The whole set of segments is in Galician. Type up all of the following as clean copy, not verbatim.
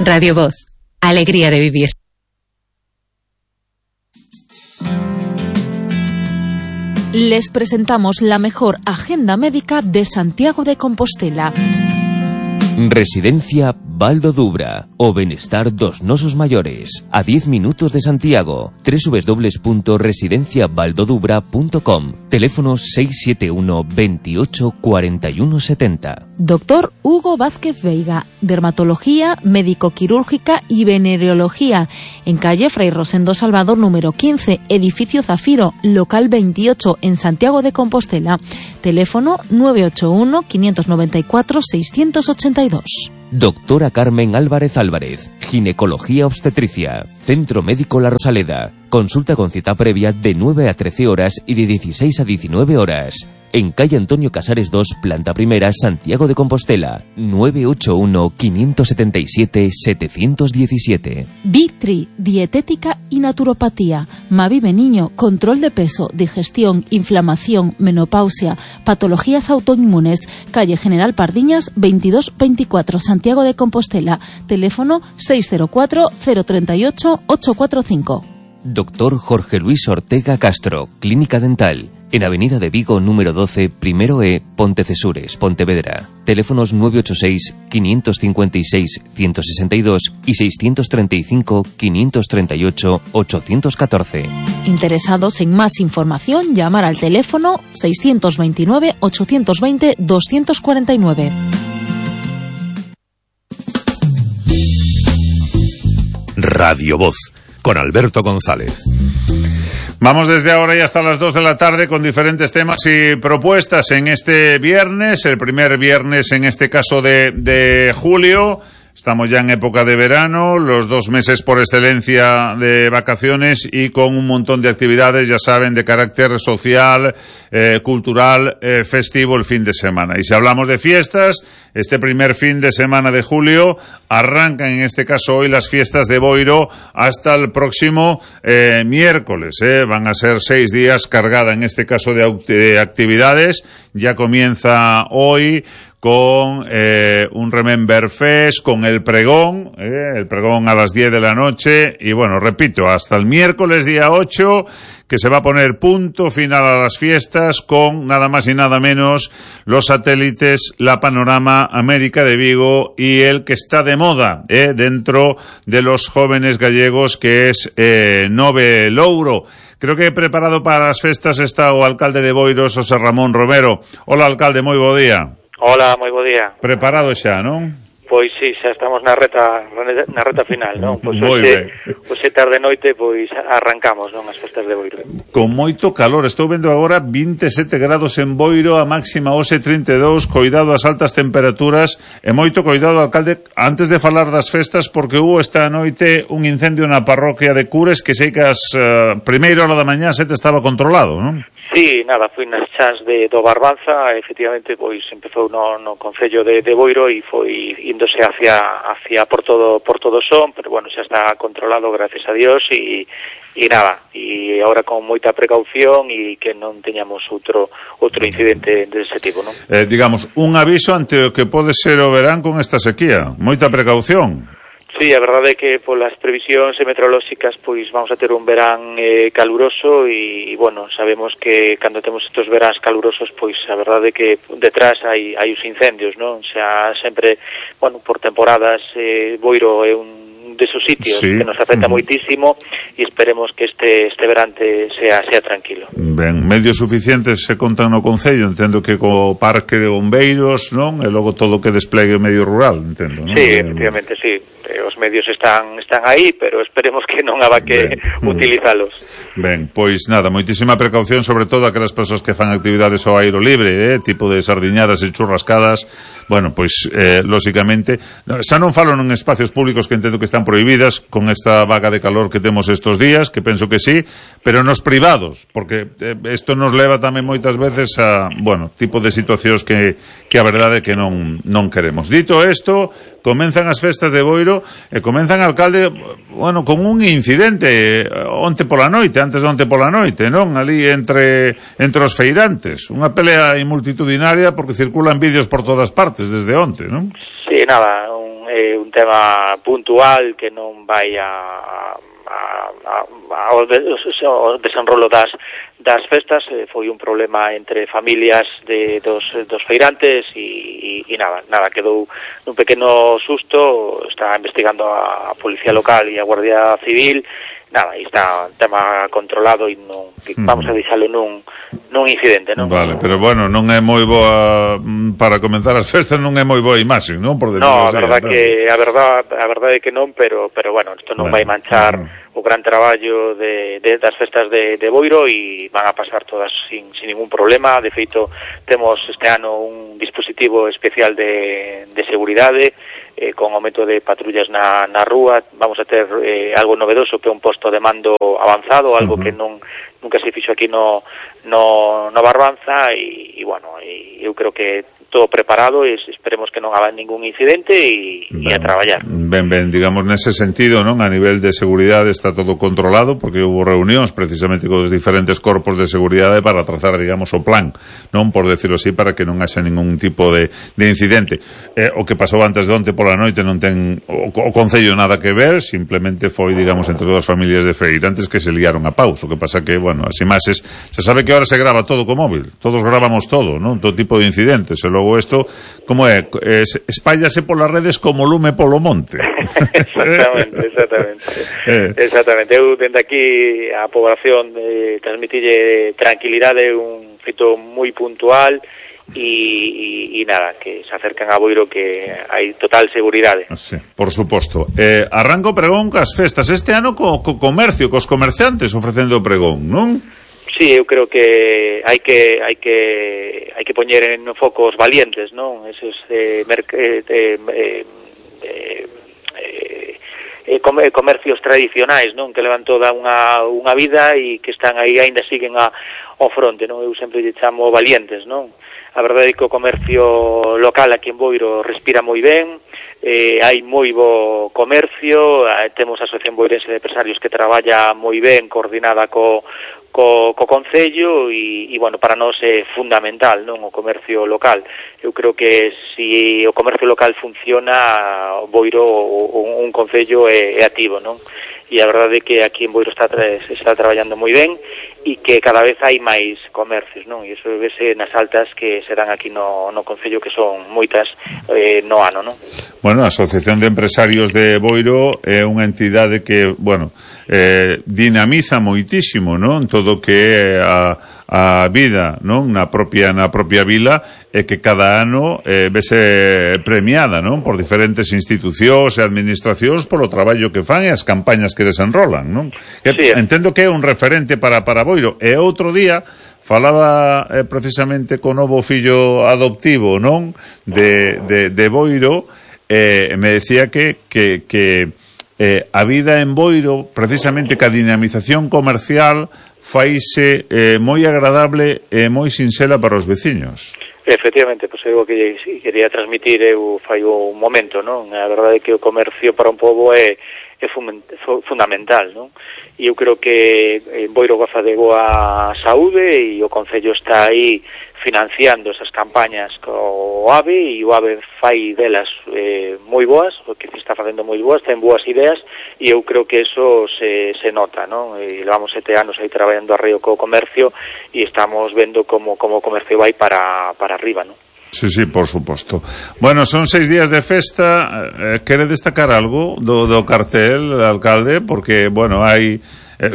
Radio Voz, alegría de vivir. Les presentamos la mejor agenda médica de Santiago de Compostela. Residencia Baldo Dubra, o Benestar dos Nosos Mayores, a 10 minutos de Santiago. www.residenciabaldodubra.com. Teléfono 671 28 41 70. Doctor Hugo Vázquez Veiga, dermatología, médico-quirúrgica y venereología, en calle Fray Rosendo Salvador número 15, edificio Zafiro, local 28, en Santiago de Compostela. Teléfono 981 594 682. Doctora Carmen Álvarez Álvarez, ginecología obstetricia, Centro Médico La Rosaleda. Consulta con cita previa de 9 a 13 horas y de 16 a 19 horas. En calle Antonio Casares 2, planta primera, Santiago de Compostela. 981 577 717. Victri, dietética y naturopatía. Mavive Niño, control de peso, digestión, inflamación, menopausia, patologías autoinmunes. Calle General Pardiñas 2224, Santiago de Compostela. Teléfono 604 038 845. Doctor Jorge Luis Ortega Castro, Clínica Dental. En Avenida de Vigo, número 12, primero E, Pontecesures, Pontevedra. Teléfonos 986 556 162 y 635 538 814. Interesados en más información, llamar al teléfono 629 820 249. Radio Voz, con Alberto González. Vamos desde ahora y hasta las 2 de la tarde con diferentes temas y propuestas en este viernes, el primer viernes en este caso de julio. Estamos ya en época de verano, los 2 meses por excelencia de vacaciones y con un montón de actividades, ya saben, de carácter social, cultural, festivo el fin de semana. Y si hablamos de fiestas, este primer fin de semana de julio arrancan en este caso hoy las fiestas de Boiro hasta el próximo miércoles. Van a ser 6 días cargada en este caso de actividades. Ya comienza hoy con un Remember Fest, con el pregón a las 10 de la noche, y bueno, repito, hasta el miércoles día 8, que se va a poner punto final a las fiestas con nada más y nada menos los satélites, la Panorama, América de Vigo y el que está de moda dentro de los jóvenes gallegos, que es Nove Louro. Creo que preparado para las festas está o alcalde de Boiro, José Ramón Romero. Hola, alcalde, moi bo día. Hola, moi bo día. Preparado xa, non? Pois sí, xa estamos na reta final, non? Pois hoxe tarde noite pois arrancamos, non, as festas de Boiro. Con moito calor, estou vendo agora 27 grados en Boiro, a máxima hoxe 32, coidado as altas temperaturas e moito coidado, alcalde, antes de falar das festas, porque hubo esta noite un incendio na parroquia de Cures que sei que as primeira hora da mañá estaba controlado, non? Sí, nada, foi nas chás do Barbanza, efectivamente, pois empezou no concello de Boiro e foi índose hacia por todo son, pero bueno, xa está controlado, gracias a Dios, e nada, e agora con moita precaución e que non teñamos outro incidente dese tipo, non? Digamos, un aviso ante o que pode ser o verán con esta sequía, moita precaución. Sí, a verdade é que polas previsións meteorolóxicas pois vamos a ter un verán caluroso e bueno, sabemos que cando temos estes veráns calurosos pois a verdade é que detrás hai os incendios, non? Xa sempre, bueno, por temporadas Boiro é un desos sitios que nos afecta moitísimo e esperemos que este verante sea tranquilo. Ben, medios suficientes se contan no concello, entendo que co parque de bombeiros, non? E logo todo o que desplegue o medio rural, entendo, non? Sí, efectivamente, sí. Os medios están aí, pero esperemos que non haga que utilizalos. Ben, pois nada, moitísima precaución, sobre todo aquelas persoas que fan actividades ao aire libre, tipo de sardiñadas e churrascadas. Bueno, pois, lóxicamente, xa non falo en espacios públicos que entendo que están prohibidas con esta vaga de calor que temos estos días, que penso que sí, pero nos privados, porque isto nos leva tamén moitas veces a, bueno, tipo de situacións que a verdade é que non queremos. Dito isto, comenzan as festas de Boiro e comenzan, alcalde, bueno, con un incidente antes de onte pola noite, non? Ali entre os feirantes, unha pelea multitudinaria porque circulan vídeos por todas partes desde onte, non? Sí, nada, un un tema puntual que non vai ao desenrolo das festas. Foi un problema entre familias dos feirantes e nada, quedou nun pequeno susto. Está investigando a Policía Local e a Guardia Civil. Nada, e está un tema controlado e non vamos a deixalo nun incidente, non? Vale, pero bueno, non é moi boa para comenzar as festas, non é moi boa imaxe, non? Por no, a verdade é que non, pero bueno, isto non vai manchar o gran traballo das festas de Boiro e van a pasar todas sin ningún problema. De feito, temos este ano un dispositivo especial de seguridade, con aumento de patrullas na rúa. Vamos a ter algo novedoso, que é un posto de mando avanzado, algo que nunca se fixo aquí no Barbanza, e bueno, eu creo que todo preparado e esperemos que non haga ningún incidente e a traballar. Ben, digamos, nese sentido, non? A nivel de seguridade está todo controlado, porque houve reunións precisamente con os diferentes corpos de seguridade para trazar, digamos, o plan, non? Por decirlo así, para que non haxa ningún tipo de incidente. O que pasou antes de onte pola noite non ten o Concello nada que ver, simplemente foi, digamos, entre dúas familias de feirantes que se liaron a paus. O que pasa que, bueno, as imaxes, se sabe que ahora se grava todo co móvil, todos gravamos todo, non? Todo tipo de incidentes, e logo isto, como é, espállase polas redes como lume polo monte. Exactamente. Eu dende aquí a poboación transmitille tranquilidade, un feito moi puntual e nada, que se acercan a Boiro, que hai total seguridade. Sí, por suposto. Arranca o pregón cas festas este ano co comercio, cos comerciantes ofrecendo o pregón, non? Sí, eu creo que hai que poñer en foco os valientes, non? Esos comercios tradicionais, non? Que levan toda unha vida e que están aí, aínda siguen ao fronte, non? Eu sempre lle chamo valientes, non? A verdade é que o comercio local aquí en Boiro respira moi ben, hai moi bo comercio, temos a Asociación Boirense de Empresarios que traballa moi ben, coordinada co Concello e bueno, para nós é fundamental, non, o comercio local. Eu creo que se o comercio local funciona, Boiro, un Concello é activo, non? E a verdade é que aquí en Boiro está traballando moi ben e que cada vez hai máis comercios, non? E iso vese nas altas que se dan aquí no Concello, que son moitas no ano, non? Bueno, a Asociación de Empresarios de Boiro é unha entidade que, bueno, dinamiza moitísimo, non? Todo que é a vida, non? Na propia vila, e que cada ano vese premiada, non? Por diferentes institucións e administracións polo traballo que fan e as campañas que desenrolan, non? Sí. Entendo que é un referente para Boiro. E outro día falaba precisamente co novo fillo adoptivo, non? De Boiro, me decía que a vida en Boiro, precisamente que a dinamización comercial faise moi agradable e moi sinxela para os veciños. Efectivamente, pois é o que quería transmitir eu fai un momento, non? A verdade é que o comercio para un pobo é fundamental, non? E eu creo que Boiro goza de boa saúde e o Concello está aí financiando esas campañas co AVE, e o AVE fai delas moi boas, o que se está facendo moi boas, ten boas ideas, e eu creo que eso se nota, non? E levamos 7 anos aí traballando arreo co comercio e estamos vendo como o comercio vai para arriba, non? Sí, por suposto. Bueno, son 6 días de festa. Quere destacar algo do cartel, alcalde? Porque, bueno, hai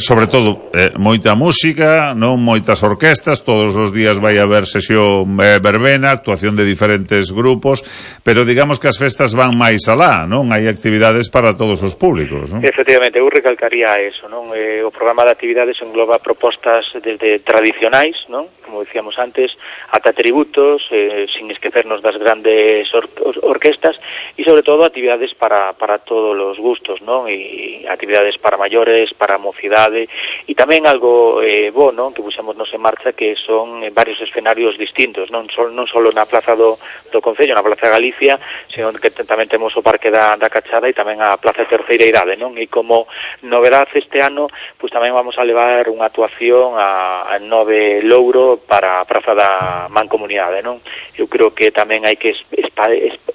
sobre todo moita música, non moitas orquestas, todos os días vai haber sesión verbena, actuación de diferentes grupos, pero digamos que as festas van máis alá, non? Hai actividades para todos os públicos, non? Efectivamente, eu recalcaría eso, non? O programa de actividades engloba propostas desde tradicionais, non? Como decíamos antes, ata tributos, sin esquecernos das grandes orquestas, e sobre todo actividades para todos os gustos, non? E actividades para maiores, para mocidade, novedade, e tamén algo bo, non, que puxemos nos en marcha, que son varios escenarios distintos, non só na plaza do Concello, na plaza de Galicia, sino que tamén temos o Parque da Cachada e tamén a plaza de Terceira Idade, non, e como novedade este ano, pois tamén vamos a levar unha actuación a Nove Louro para a praza da Mancomunidade, non? Eu creo que tamén hai que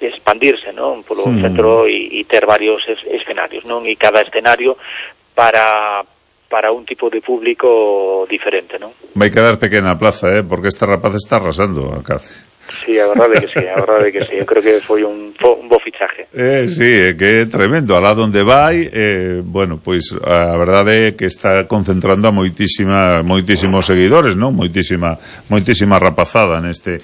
expandirse, non, polo centro e ter varios escenarios, non, e cada escenario para un tipo de público diferente, non? Vai quedar pequena a plaza, porque esta rapaz está arrasando a Cáceres. Sí, a verdade que sí, eu creo que foi un bo fichaje. Sí, que é tremendo, alá donde vai, bueno, pois a verdade é que está concentrando a moitísimos seguidores, non? Moitísima rapazada neste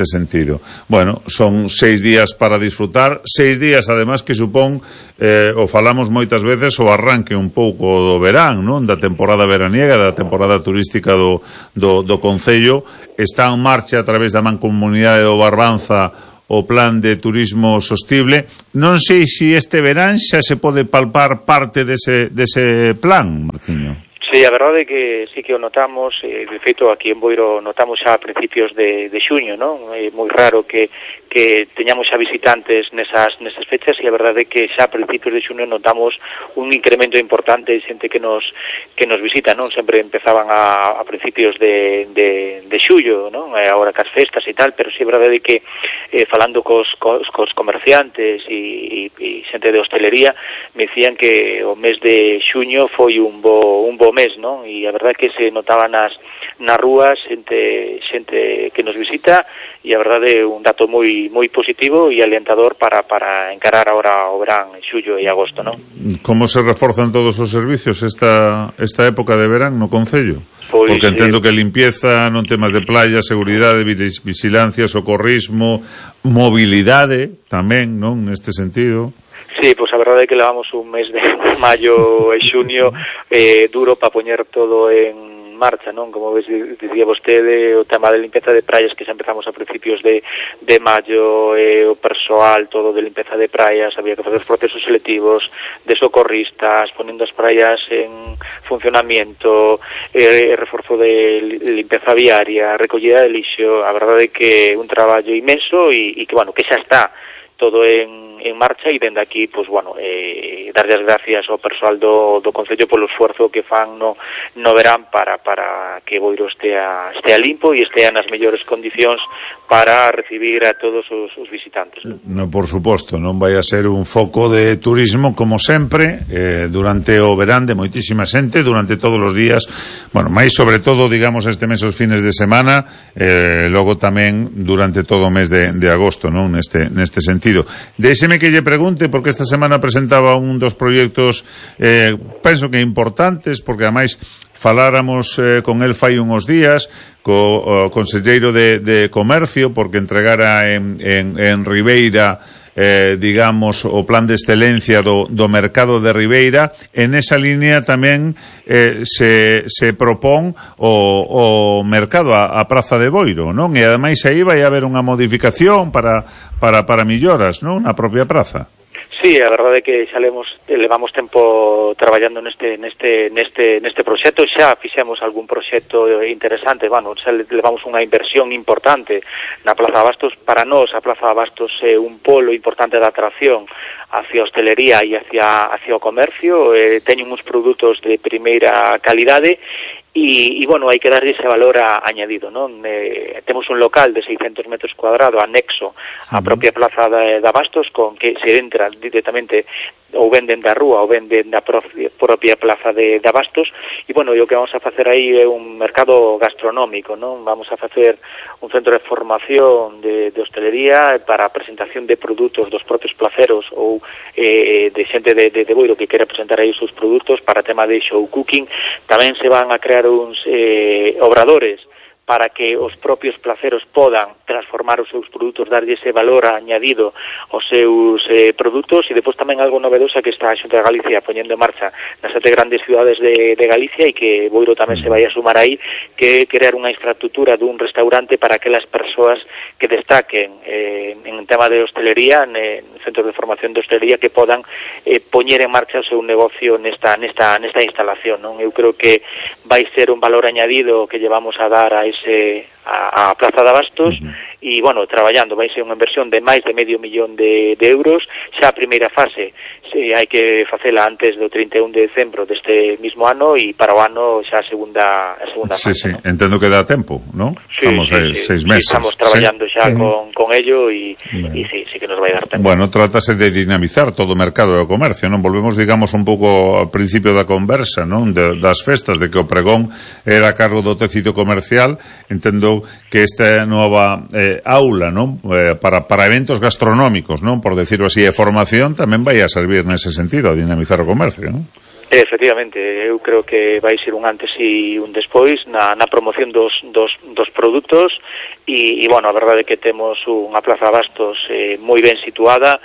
sentido. Bueno, son 6 días para disfrutar, 6 días además que supón, o falamos moitas veces, o arranque un pouco do verán, non? Da temporada veraniega, da temporada turística do Concello. Está en marcha a través da Mancomunidade do Barbanza o plan de turismo sostible. Non sei se este verán xa se pode palpar parte dese plan, Martiño. Sí, a verdade é que sí que o notamos, de feito aquí en Boiro notamos xa a principios de xuño, non? É moi raro que teñamos xa visitantes nesas fechas, e a verdade é que xa a principios de xuño notamos un incremento importante de xente que nos visita, non? Sempre empezaban a principios de xullo, non? Agora cas festas e tal, pero sí a verdade é que falando cos comerciantes e xente de hostelería me dicían que o mes de xuño foi un bo mes, non? E a verdade é que se notaba nas rúas xente que nos visita, e a verdade é un dato moi positivo e alentador para encarar agora o verán en xullo e agosto, non? Como se reforzan todos os servicios esta época de verán no Concello? Pois, porque entendo que limpieza, non temas de playa, seguridade, vigilancia, socorrismo, mobilidade tamén, non, neste sentido. Sí, pois a verdade é que levamos un mes de maio e xunio duro para poñer todo en marcha, non? Como dicía vostede, o tema de limpeza de praias que xa empezamos a principios de maio, o persoal todo de limpeza de praias, había que facer procesos selectivos de socorristas, ponendo as praias en funcionamiento, reforzo de limpeza viaria, recollida de lixo. A verdade é que un traballo inmenso e que, bueno, que xa está todo en marcha, e dende aquí, pois, bueno, darlle as gracias ao persoal do Concello polo esforzo que fan no verán para que Boiro estea limpo e estea nas mellores condicións para recibir a todos os visitantes. No, por suposto, non vai a ser un foco de turismo como sempre durante o verán, de moitísima xente durante todos os días, bueno, máis sobre todo, digamos, este mes os fines de semana, logo tamén durante todo o mes de agosto, non? Neste sentido. Déxeme que lle pregunte, porque esta semana presentaba un dos proxectos penso que importantes, porque ademais faláramos con el fai uns días, co conselleiro de Comercio, porque entregara en Ribeira digamos, o plan de excelencia do mercado de Ribeira. En esa línea tamén se propón o mercado a Praza de Boiro, non? E ademais aí vai haber unha modificación para melloras, non? Na propia praza. Sí, a verdade é que xa levamos tempo traballando neste proxecto, xa fixemos algún proxecto interesante, bueno, xa levamos unha inversión importante na Plaza de Abastos. Para nós a Plaza de Abastos é un polo importante de atracción hacia a hostelería e hacia o comercio, teñen uns produtos de primeira calidade. E, bueno, hai que darlle ese valor añadido, non? Temos un local de 600 metros cuadrados anexo á propia Plaza de Abastos, con que se entra directamente ou venden da rúa ou venden da propia Plaza de Abastos, e, bueno, o que vamos a facer aí é un mercado gastronómico, non? Vamos a facer un centro de formación de hostelería para a presentación de produtos dos propios placeros ou de xente de Boiro que quere presentar aí os seus produtos para tema de show cooking. Tamén se van a crear uns obradores para que os propios placeros podan transformar os seus produtos, darlle ese valor añadido aos seus produtos, e depois tamén algo novedosa que está a Xunta de Galicia poñendo en marcha nas 7 grandes ciudades de Galicia, e que Boiro tamén se vai a sumar aí, que crear unha infraestructura dun restaurante para aquelas persoas que destaquen en tema de hostelería, en centros de formación de hostelería, que podan poñer en marcha o seu negocio nesta instalación, non? Eu creo que vai ser un valor añadido que llevamos a dar a Plaza de Abastos, e, bueno, traballando, vai ser unha inversión de máis de $500,000 de euros. Xa a primeira fase hai que facela antes do 31 de decembro deste mismo ano, e para o ano xa a segunda fase. Sí, ¿no? Entendo que dá tempo, ¿no? Sí, estamos 6 meses. Sí, estamos traballando xa con ello, e sí que nos vai dar tempo. Bueno, trátase de dinamizar todo o mercado do comercio, non? Volvemos, digamos, un pouco ao principio da conversa, non? Das festas, de que o pregón era a cargo do tecido comercial. Entendo que esta nova aula, non? Para eventos gastronómicos, non? Por decirlo así, e formación tamén vai a servir nese sentido, a dinamizar o comercio, non? Efectivamente, eu creo que vai ser un antes e un despois na promoción dos produtos, e bueno, a verdade é que temos unha Plaza de Abastos moi ben situada,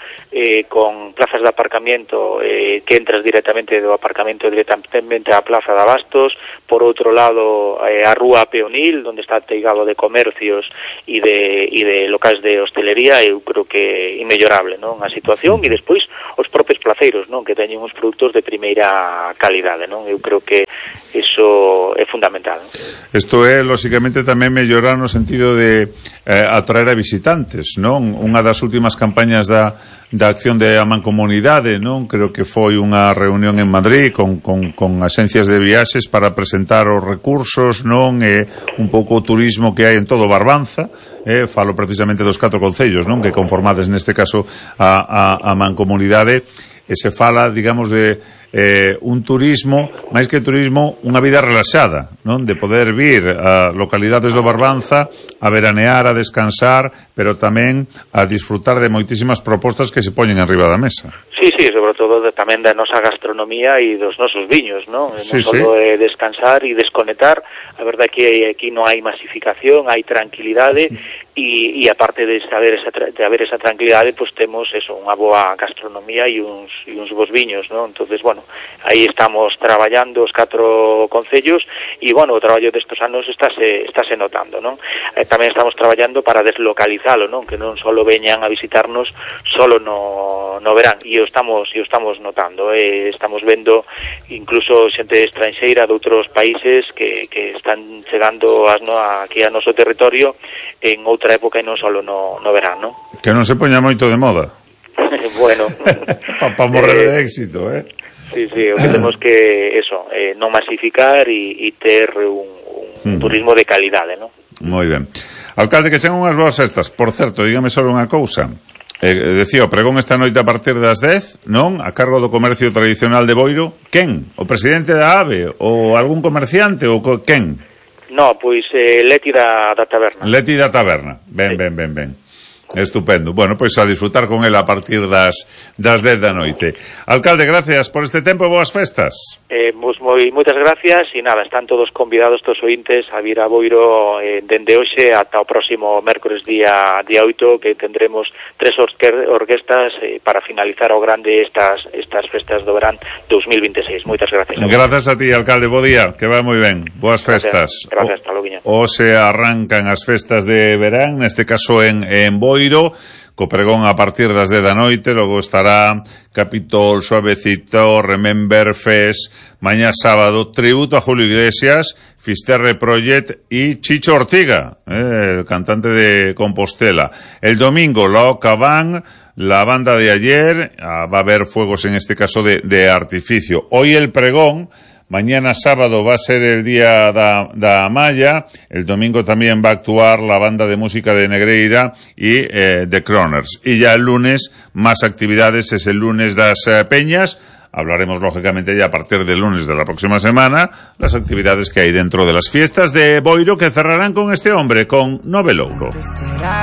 con plazas de aparcamiento que entras directamente do aparcamento directamente á Plaza de Abastos. Por outro lado, a Rúa Peonil, onde está teigado de comercios e de locais de hostelería. Eu creo que é inmellorable, non, a situación, e despois os propios placeiros, non, que teñen uns produtos de primeira calidade, non? Eu creo que iso é fundamental, non? Isto é, lóxicamente, tamén mellorar no sentido de atraer a visitantes, non? Unha das últimas campañas da acción de a Mancomunidade, non? Creo que foi unha reunión en Madrid con axencias de viaxes para presentar os recursos, non? E un pouco o turismo que hai en todo Barbanza. Falo precisamente dos 4 concellos, non? Que conformades neste caso a Mancomunidade, e se fala, digamos, de un turismo, máis que turismo, unha vida relaxada, non? De poder vir a localidades do Barbanza a veranear, a descansar, pero tamén a disfrutar de moitísimas propostas que se poñen arriba da mesa. Sí, sobre todo tamén da nosa gastronomía e dos nosos viños, non? Non só descansar e desconectar. A verdade é que aquí non hai masificación, hai tranquilidade, e aparte de haber esa tranquilidade, pues temos eso, unha boa gastronomía e uns bons viños, non? Entonces, bueno, aí estamos traballando os 4 concellos, e, bueno, o traballo destes anos estáse notando, non? Tamén estamos traballando para deslocalizalo, non? Que non só veñan a visitarnos solo no verán, e o estamos notando, estamos vendo incluso xente estranxeira de outros países que están chegando aquí a noso territorio en outra época e non só no verán, non? Que non se poña moito de moda. Bueno. Para morrer de éxito, Sí, o que temos que, non masificar e ter un turismo de calidade, non? Moi ben. Alcalde, que chegan unhas boas festas. Por certo, dígame só unha cousa. Decía, o pregón esta noite a partir das 10, non? A cargo do comercio tradicional de Boiro. Quen? O presidente da AVE? Ou algún comerciante? Ou quen? No, pois Leti da taberna. Leti da taberna. Ben. Estupendo. Bueno, pois a disfrutar con ela a partir das 10 da noite. Alcalde, gracias por este tempo e boas festas. Moitas gracias, e nada, están todos convidados, todos ointes, a vir a Boiro dende hoxe ata o próximo mércores día 8, que tendremos 3 orquestas para finalizar ao grande estas festas do verán 2026. Moitas gracias. Gracias a ti, alcalde, bo día, que va moi ben. Boas festas. Gracias, hasta logo. Hoxe arrancan as festas de verán, neste caso en Boiro, co pregón a partir das 10 da noite. Logo estará Capitol, Suavecito, Remember Fest, mañá sábado, tributo a Julio Iglesias, Fisterre Project e Chicho Ortiga, el cantante de Compostela. El domingo, la Oca Band, la banda de ayer, va a haber fuegos en este caso de artificio. Hoy el pregón. Mañana sábado va a ser el día da Maya. El domingo también va a actuar la banda de música de Negreira y The Croners. Y ya el lunes, más actividades, es el lunes das Peñas. Hablaremos lógicamente ya a partir del lunes de la próxima semana las actividades que hay dentro de las fiestas de Boiro, que cerrarán con este hombre, con Nove Louro.